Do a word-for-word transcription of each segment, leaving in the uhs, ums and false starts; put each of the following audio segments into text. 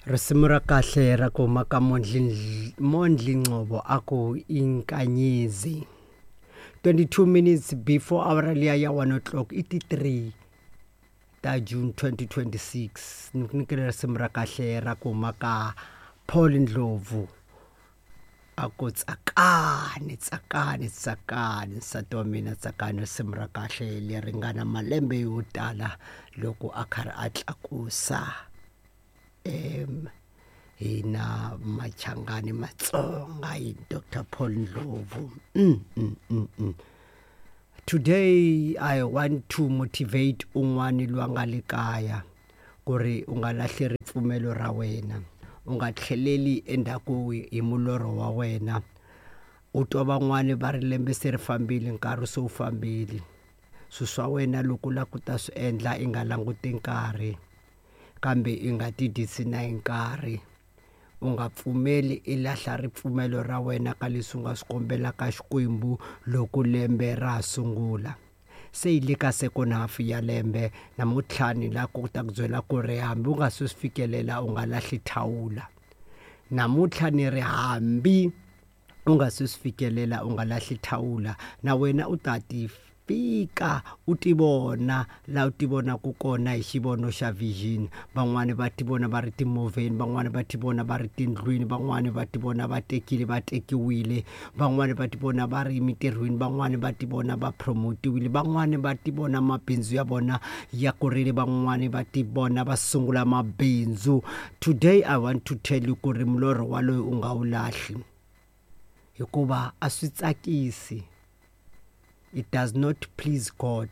Risimu ra kahle ra ku huma ka Mondli Mondli Ngcobo a ku inkanyezi twenty-two minutes before hour liya ya one o'clock i ti three ta June twenty twenty-six. Ni ku nyikela risimu ra kahle ra ku huma ka Paul Ndlovu a ku tsakani tsakani tsakani nsati wa mina tsakani, risimu ra kahle leri nga na malembe yo tala loko a karhi a tlakusa em hina Machangani Matsonga hi Doctor Paul Ndlovu. Mm, mm, mm, mm. Today I want to motivate un'wani loyi a nga le kaya ku ri u nga lahli ripfumelo ra wena, u nga tlheleli endzhaku hi mulorho wa wena. U twa van'wani va ri lembe se ri fambile, nkarhi se wu fambile. Swilo swa wena loko u lava ku ta swi endla i nga languti nkarhi, kambe i nga ti dyisi na hi nkarhi. U nga pfumeli i lahla ripfumelo ra wena ka leswi u nga swi kombelaka Xikwembu loko lembe ra ha sungula. Se hi le ka second half ya lembe namuntlha ni la ku ta ku byela ku ri hambi u nga se swi fikelela u nga lahli thawula. Namuntlha ni ri hambi u nga se swi fikelela u nga lahli thawula, na wena u ta ti fika u ti vona la u ti vonaka kona hi xivono xa vision. Van'wani va ti vona va ri timovheni, van'wani va ti vona va ri tindlwini, van'wani va ti vona va tekile va tekiwile, van'wani va ti vona va ri emitirhweni, van'wani va ti vona va promotiwile, van'wani va ti vona mabindzu ya vona ya kurile, van'wani va ti vona va sungula mabindzu. Today I want to tell you ku ri milorho waloyo u nga wu lahli, hikuva a swi tsakisi. It does not please God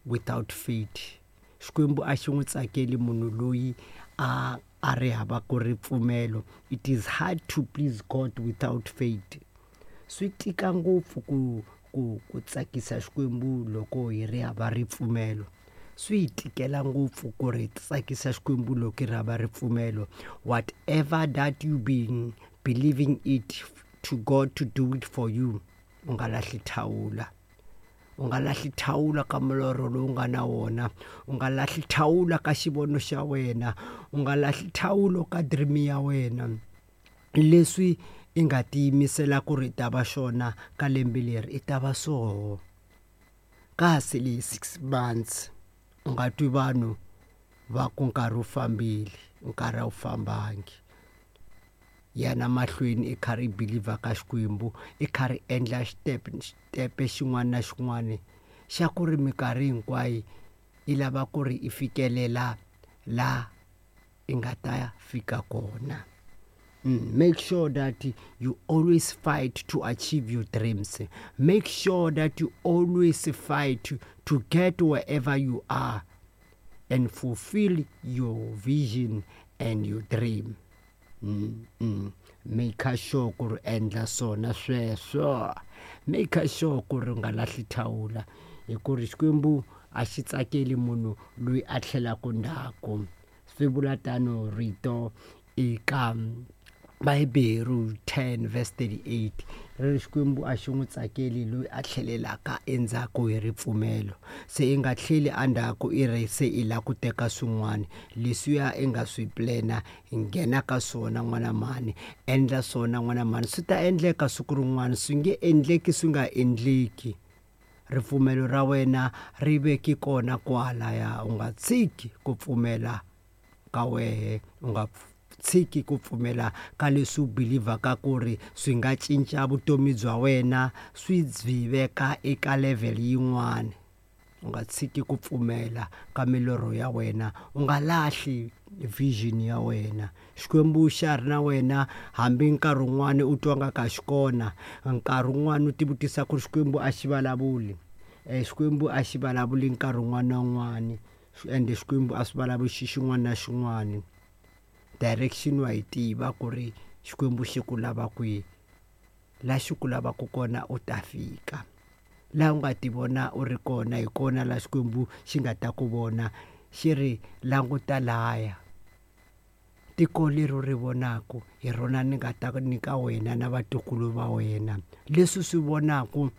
without faith. Xikwembu a xi n'wi tsakeli munhu loyi a a ri hava ku ripfumelo. It is hard to please God without faith. Swi tika ngopfu ku ku ku tsakisa Xikwembu loko hi ri hava ripfumelo. Swi hi tikela ngopfu ku ri tsakisa Xikwembu loko hi ri hava ripfumelo. Whatever that you been believing it to God to do it for you, u nga lahli thawula. U nga lahli thawula ka milorho lowu nga na wona, u nga lahli thawula ka xivono xa wena, u nga lahli thawulo ka dream ya wena. Leswi i nga tiyimisela ku ri ta va xona ka lembe leri i ta va swoho. Kasi le six months u nga twi vanhu va ku nkarhi wu fambile, nkarhi a wu fambangi. Yana mahlweni i karhi i believe ka Xikwembu, i karhi endla step step xin'wana na xin'wana xa ku ri minkarhi hinkwayo i lava ku ri i fikelela la i nga ta fika kona. Mm, make sure that you always fight to achieve your dreams. Make sure that you always fight to, to get wherever you are and fulfill your vision and your dream. Mm, mm. Make sure ku ri endla swona sweswo. Make sure ku ri nga lahli thawula, hi ku ri Xikwembu a xi tsakeli munhu loyi a tlhelaka ndzhaku. Swi vula tano rito eka Vaheberu ten verse thirty-eight, ri ri Xikwembu a xi n'wi tsakeli loyi a tlhelelaka endzhaku hi ripfumelo. Se i nga tlheli endzhaku i ri se i lava ku teka swin'wana leswiya i nga swi plana, nghena ka swona n'wana mhani, endla swona n'wana mhani, swi ta endleka siku rin'wana, swi nge endleki swi nga endleki. Ripfumelo ra wena ri veki kona kwalaya, u nga tshiki ku pfumela ka wehe, u nga tshiki ku pfumela ka leswi u believaka ku ri swi nga cinca vutomi bya wena, swi byi veka eka level yin'wana. U nga tshiki ku pfumela ka milorho ya wena, u nga lahli vision ya wena. Xikwembu xa ri na wena hambi nkarhi wun'wani u twa nga ka xi kona, nkarhi wun'wani u ti vutisa ku ri Xikwembu a xi vulavuli. Eh, Xikwembu a xi vulavuli nkarhi wun'wana na wun'wani, ende Xikwembu a swi vulavuli xi xin'wana na xin'wana. Direction wa yi tiva ku ri Xikwembu xi ku lava kwihi, la xi ku lavaka kona u ta fika. La u nga ti vona u ri kona hi kona la Xikwembu xi nga ta ku vona, xi ri languta laya. Tiko leri u ri vonaka hi rona ni nga ta nyika wena na vatukulu va wena. Leswi swi vonaka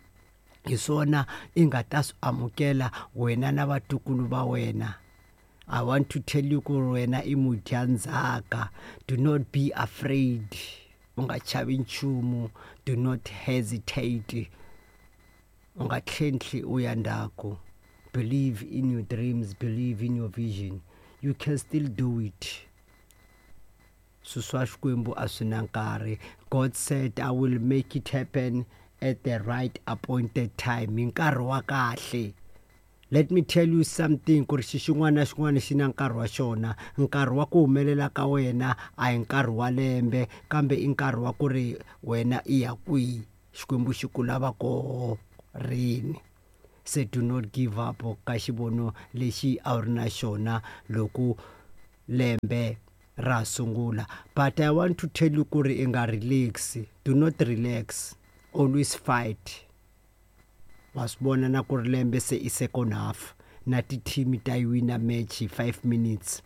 hi swona i nga ta swi amukela wena na vatukulu va wena. I want to tell you ku ri wena i mudyandzhaka. Do not be afraid, u nga chavi nchumu. Do not hesitate, u nga tlhentlhi u ya ndzhaku. Believe in your dreams, believe in your vision, you can still do it. Swilo swa Xikwembu a swi na nkarhi. God said, "I will make it happen at the right appointed time," hi nkarhi wa kahle. Let me tell you something, ku ri xi xin'wana na xin'wana xi na nkarhi wa xona. Nkarhi wa ku humelela ka wena a hi nkarhi wa lembe, kambe i nkarhi wa ku ri wena i ya kwihi, Xikwembu xi ku lava koho rini. Se do not give up ka xivono lexi a wu ri na xona loko lembe ra sungula. But I want to tell you ku ri i nga relax. Do not relax, always fight. Wa swi vona na ku ri lembe se i second half, na ti-team ta yi wina match hi five minutes.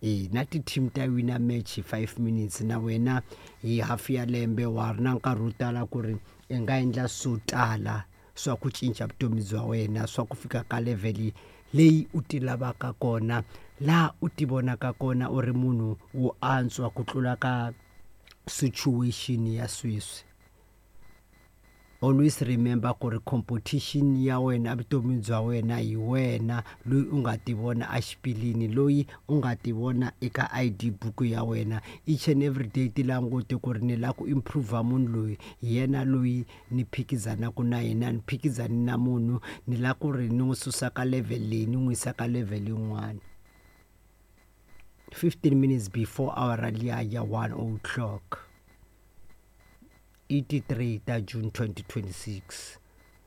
E na ti-team ta wina match hi five minutes. Na wena hi half ya lembe wa ri na nkarhi wo tala ku ri i nga endla swo tala swa ku cinca vutomi bya wena, swa ku fika ka level leyi u ti lavaka kona, laha u ti vonaka kona u ri munhu wo antswa ku tlula ka situation ya sweswi. Always remember ku ri competition ya wena evutomini bya wena hi wena loyi u nga ti vona exipilini, loyi u nga ti vona eka I D book ya wena. Each and every day ti langute ku ri ni lava ku improve, munhu loyi hi yena loyi ni phikizanaka na yena, ni phikizani na munhu, ni lava ku ri ni n'wi susa ka level leyi ni n'wi yisa ka level yin'wana. fifteen minutes before hour liya ya one o'clock, eighty-three ta June twenty twenty-six.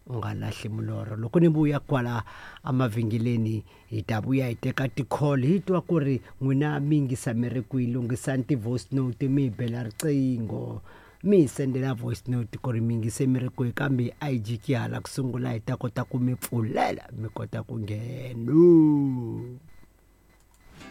U nga lahli milorho. Loko ni vuya kwala emavhengeleni, hi ta vuya hi teka ti-call, hi twa ku ri n'wina mi yingisa mi ri kwihi. Lunghisani ti-voice note, mi hi bela riqingho, mi hi sendela voice note ku ri mi yingise mi ri kwihi. Kambe a hi jiki hala ku sungula, hi ta kota ku mi pfulela, mi kota ku nghena.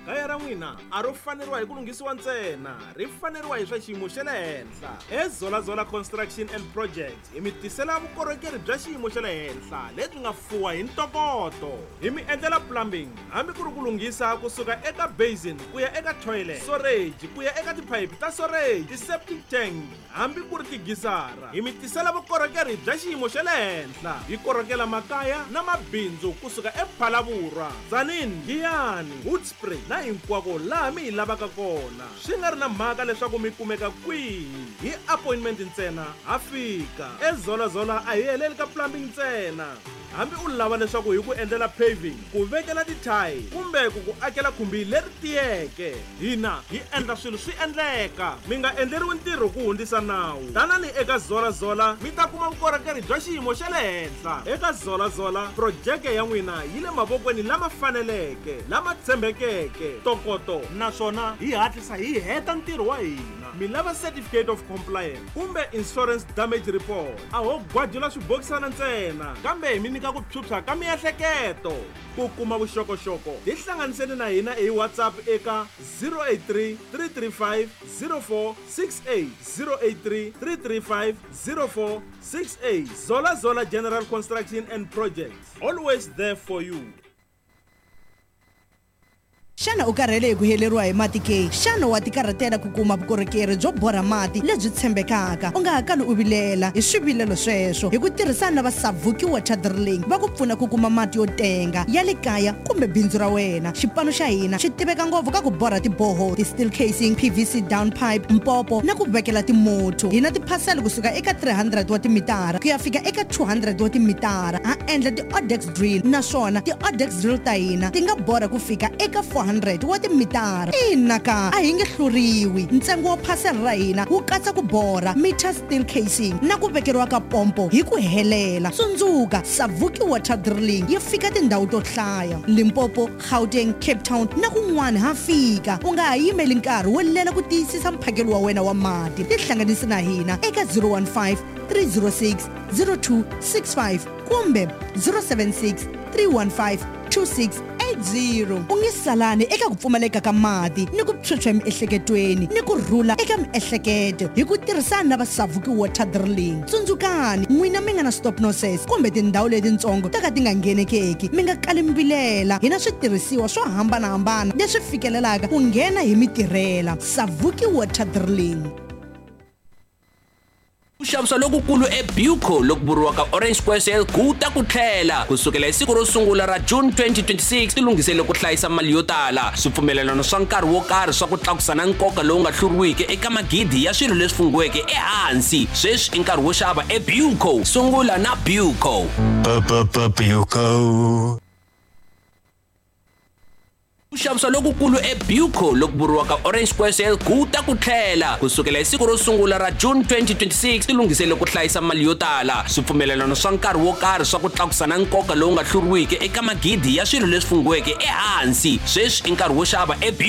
Kaya ra n'wina a ro faneriwa hi ku lunghisiwa ntsena, ri faneriwa hi swa xiyimo xa le henhla. Ezolazola Construction and Project hi mi tisela vukorhokeri bya xiyimo xa le henhla lebyi nga fuwa hi ntokoto. Hi mi endlela plumbing, hambi ku ri ku lunghisa kusuka eka basin ku ya eka toilet, storage ku ya eka tiphayiphi ta storage, ti-septic tank, hambi ku ri tigisara. Hi mi tisela vukorhokeri bya xiyimo xa le henhla. Hi korhokela makaya na mabindzu kusuka ePhalavurwa, Tzaneen, Giyani, Hoedspruit na hinkwako laha mi hi lavaka kona, swi nga ri na mhaka leswaku mi kumeka kwihi. Hi appointment ntsena ha fika. Ezolazola a hi heleli ka plumbing ntsena. Hambi u lava leswaku hi ku endlela paving, ku vekela tithayili, kumbe ku ku akela khumbi leri tiyeke, hina hi endla swilo swi endleka. Mi nga endleriwi ntirho ku hundzisa nawu. Tanani eka Zolazola, mi ta kuma vukorhokeri bya xiyimo xa le henhla. Eka Zolazola, projeke ya n'wina yi le mavokweni lama faneleke, lama tshembekeke, ntokoto, naswona hi hatlisa hi heta ntirho wa hina. Mi lava certificate of compliance kumbe insurance damage report, a ho gwajula swibokisana ntsena, kambe hi mi nyika ku phyuphya ka miehleketo. Ku kuma vuxokoxoko, tihlanganiseni na hina hi WhatsApp eka zero eight three, three three five, zero four six eight, zero eight three, three three five, zero four six eight. Zola Zola General Construction and Projects, always there for you. Xana u karhele hi ku heleriwa hi mati ke? Xana wa tikarhatela ku kuma vukorhokeri byo borha mati lebyi tshembekaka? U nga ha kali u vilela hi swivilelo sweswo. Hi ku tirhisana na va Savuki Water Drilling, va ku pfuna ku kuma mati yo tenga ya le kaya kumbe bindzu ra wena. Xipano xa hina xi tiveka ngopfu ka ku borha tiboho, ti-steel casing, P V C down pipe, mpopo na ku vekela timoto. Hi na tiphasela kusuka eka three hundred wa timitara ku ya fika eka two hundred wa timitara. Ha endla ti-odex drill, naswona ti-odex drill ta hina ti nga borha ku fika eka four hundred wa timitara. Ina ka, a hi nge hluriwi. Ntsengo wa phasela ra hina wu katsa ku borha meter, steel casing na ku vekeriwa ka pompo hi ku helela. Tsundzuka, Savuki Water Drilling yi fika tindhawu to hlaya: Limpopo, Gauteng, Cape Town na kun'wana ha fika. U nga ha yimeli nkarhi wo lela ku tiyisisa mphakelo wa wena wa mati. Tihlanganisi na hina eka zero one five, three zero six, zero two six five kumbe zero seven six, three one five, two six eight. eight zero. U nge salani eka ku pfumaleka ka mati ni ku phyuphya emiehleketweni ni ku rhula eka miehleketo hi ku tirhisana na va Savuki Water Drilling. Tsundzukani, n'wina mi nga na stop nonsense kumbe tindhawu letitsongo to ka ti nga nghenekeki, mi nga kali mi vilela. Hi na switirhisiwa swo hambanahambana leswi fikelelaka ku nghena hi mitirhela. Savuki Water Drilling. Ku xavisa lokukulu eBuco loku vuriwaka Orange Square Sale ku ta ku tlhela ku sukela hi siku ro sungula ra June twenty twenty-six. Tilunghisele ku hlayisa mali yo tala, swipfumelelano swa nkarhi wo karhi swa ku tlakusa na nkoka lowu nga hluriwiki eka magidi ya swilo leswi funghiweke ehansi. Sweswi i nkarhi wo xava eBuco. Sungula na Buco. Buco. Ku xavisa lokukulu eBuco loku vuriwaka Orange Square Sale ku ta ku tlhela ku sukela hi siku ro sungula ra June twenty twenty-six. Tilunghisele ku hlayisa mali yo tala, swipfumelelano swa nkarhi wo karhi swa ku tlakusa na nkoka lowu nga hluriwiki eka magidi ya swilo leswi funghiweke ehansi. Sweswi i nkarhi wo xava eBuco.